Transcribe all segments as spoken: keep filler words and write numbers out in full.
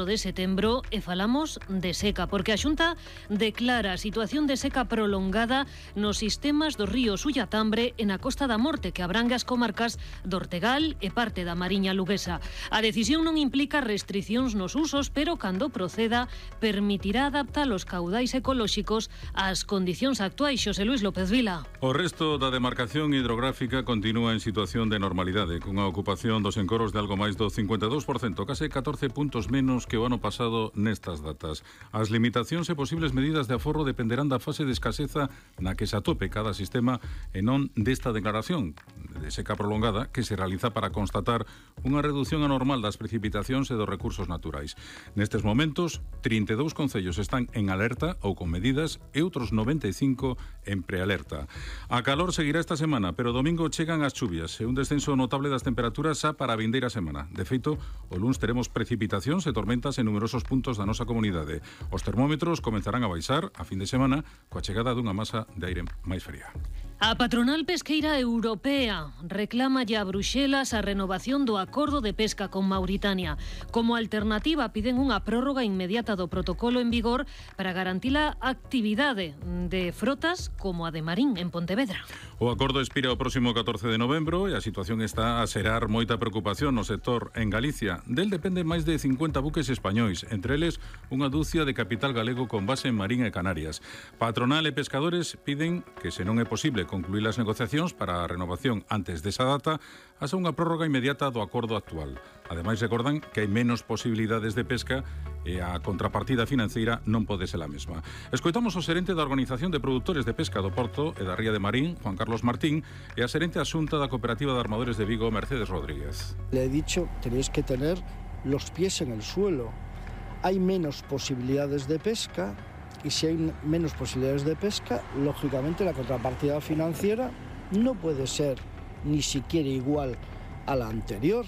de setembro e falamos de seca, porque a Xunta declara a situación de seca prolongada nos sistemas dos ríos Ullatambre e na Costa da Morte, que abrangue as comarcas do Ortegal e parte da Mariña Luguesa. A decisión non implica restricións nos usos, pero cando proceda permitirá adaptar os caudais ecolóxicos ás condicións actuais. Xosé Luis López Vila. O resto da demarcación hidrográfica continúa en situación de normalidade, cunha ocupación dos encoros de algo máis do cincuenta e dous por cento, case catorce puntos menos que o ano pasado nestas datas. As limitacións e posibles medidas de aforro dependerán da fase de escaseza na que se atope cada sistema e non desta declaración de seca prolongada que se realiza para constatar unha reducción anormal das precipitacións e dos recursos naturais. Nestes momentos, trinta e dous concellos están en alerta ou con medidas e outros noventa e cinco en prealerta. A calor seguirá esta semana, pero domingo chegan as chuvias e un descenso notable das temperaturas xa para a vindeira semana. De feito, o luns teremos precipitacións e tormentas en numerosos puntos da nosa comunidade. Os termómetros comenzarán a baixar a fin de semana coa chegada dunha masa de aire máis fría. A patronal pesqueira europea reclama ya a Bruxelas a renovación do acordo de pesca con Mauritania. Como alternativa piden unha prórroga inmediata do protocolo en vigor para garantir a actividade de frotas como a de Marín en Pontevedra. O acordo expira o próximo catorce de novembro e a situación está a xerar moita preocupación no sector en Galicia. Del dependen máis de cincuenta buques españois, entre eles unha dúcia de capital galego con base en Marín e Canarias. Patronal e pescadores piden que, se non é posible concluir as negociacións para a renovación antes desa data, haxa unha prórroga inmediata do acordo actual. Ademais, recordan que hai menos posibilidades de pesca e a contrapartida financeira non pode ser a mesma. Escoitamos o xerente da Organización de Produtores de Pesca do Porto e da Ría de Marín, Juan Carlos Martín, e a xerente asunta da Cooperativa de Armadores de Vigo, Mercedes Rodríguez. Le he dicho, tenéis que tener los pies en el suelo. Hay menos posibilidades de pesca y si hay menos posibilidades de pesca, lógicamente la contrapartida financiera no puede ser ni siquiera igual a la anterior.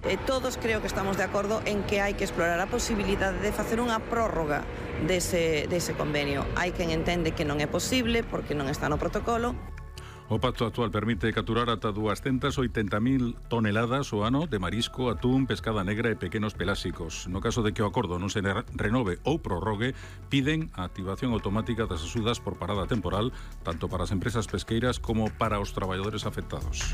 Eh, todos creo que estamos de acordo en que hai que explorar a posibilidade de facer unha prórroga dese, dese convenio. Hai quen entende que non é posible porque non está no protocolo. O pacto actual permite capturar ata duascentas oitenta mil toneladas o ano de marisco, atún, pescada negra e pequenos pelásicos. No caso de que o acordo non se renove ou prorrogue, piden a activación automática das axudas por parada temporal, tanto para as empresas pesqueiras como para os traballadores afectados.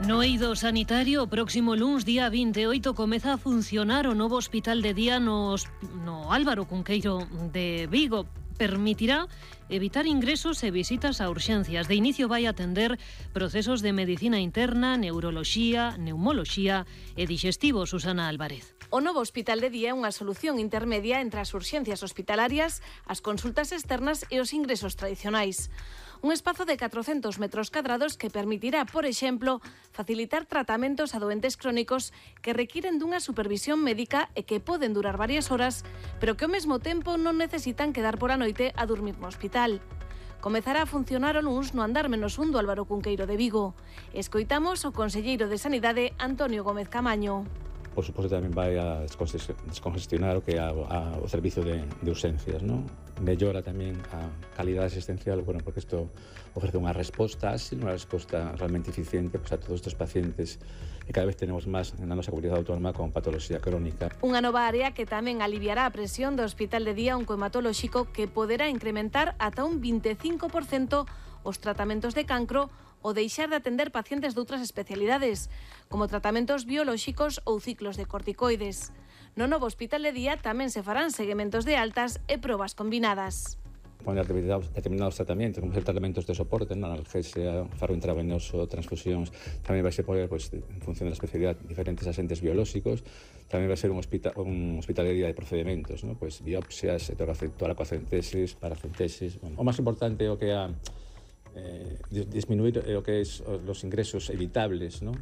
No eido sanitario, o próximo luns, día vinte e oito, comeza a funcionar o novo hospital de día nos, no Álvaro Cunqueiro de Vigo. Permitirá evitar ingresos e visitas a urxencias. De inicio vai atender procesos de medicina interna, neuroloxía, neumoloxía e digestivo. Susana Álvarez. O novo hospital de día é unha solución intermedia entre as urxencias hospitalarias, as consultas externas e os ingresos tradicionais. Un espazo de catrocentos metros cadrados que permitirá, por exemplo, facilitar tratamentos a doentes crónicos que requiren dunha supervisión médica e que poden durar varias horas, pero que ao mesmo tempo non necesitan quedar por a noite a dormir no hospital. Comezará a funcionar o luns no andar menos un do Álvaro Cunqueiro de Vigo. Escoitamos o conselleiro de Sanidade, Antonio Gómez Camaño. Por suposto, tamén vai a descongestionar o que é a, a, o servicio de, de urxencias, ¿no? Mellora tamén a calidade asistencial, bueno, porque isto ofrece unha resposta áxil, unha resposta realmente eficiente pues, a todos estes pacientes e cada vez tenemos máis na nosa comunidade autónoma con patoloxía crónica. Unha nova área que tamén aliviará a presión do Hospital de Día Oncohematolóxico, que poderá incrementar ata un vinte e cinco por cento os tratamentos de cancro o deixar de atender pacientes de outras especialidades, como tratamentos biolóxicos ou ciclos de corticoides. No novo hospital de día tamén se farán seguimentos de altas e probas combinadas. Poner determinados tratamentos, como ser tratamentos de soporte, analgesia, faro intravenoso, transfusións, tamén vai ser poder, pues, en función da especialidade, diferentes agentes biolóxicos, tamén vai ser un hospital, un hospital de día de procedimentos, ¿no? Pues, biopsias, toracocentesis, paracentesis. Bueno, o máis importante é o que a Eh, disminuir lo que es los ingresos evitables, ¿no?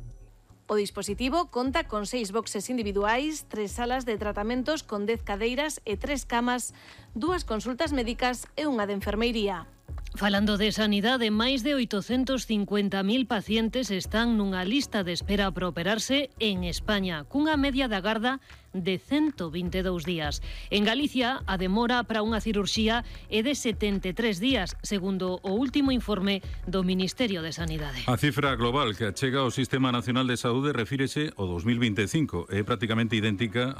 O dispositivo conta con seis boxes individuais, tres salas de tratamentos con dez cadeiras e tres camas, dúas consultas médicas e unha de enfermeiría. Falando de sanidade, máis de oitocentos cincuenta mil pacientes están nunha lista de espera para operarse en España, cunha media de agarda de ciento vinte e dous días. En Galicia, a demora para unha cirurxía é de setenta e tres días, segundo o último informe do Ministerio de Sanidade. A cifra global que achega o Sistema Nacional de Saúde refírese ao dos mil vinte e cinco, é prácticamente idéntica a